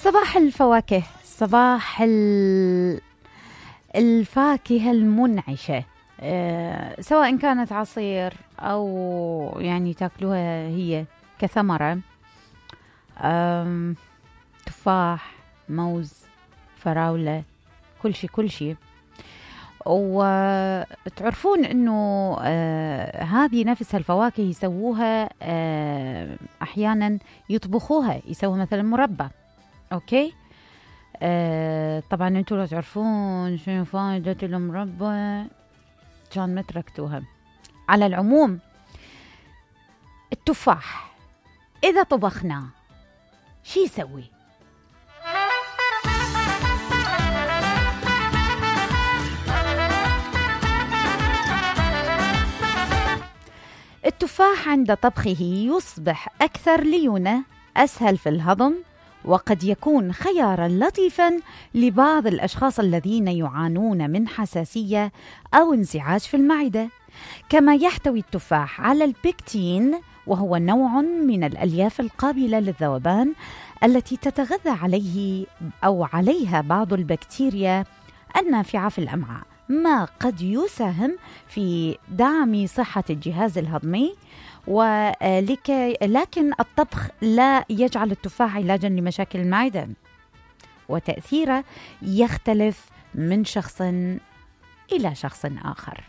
صباح الفواكه، صباح الفاكهة المنعشة، سواء كانت عصير أو يعني تاكلوها هي كثمرة، تفاح، موز، فراولة، كل شيء. وتعرفون أنه هذه نفس الفواكه يسووها أحيانا يطبخوها، يسووها مثلا مربى. أوكي، طبعا أنتوا لا تعرفون شنو فائدة المربى كان ما تركتوها. على العموم التفاح إذا طبخناه شي يسوي؟ التفاح عند طبخه يصبح أكثر ليونة، أسهل في الهضم، وقد يكون خياراً لطيفاً لبعض الأشخاص الذين يعانون من حساسية أو انزعاج في المعدة. كما يحتوي التفاح على البيكتين، وهو نوع من الألياف القابلة للذوبان التي تتغذى عليه أو عليها بعض البكتيريا النافعة في الأمعاء، ما قد يساهم في دعم صحة الجهاز الهضمي. لكن الطبخ لا يجعل التفاح علاجا لمشاكل المعدة، وتأثيره يختلف من شخص إلى شخص آخر.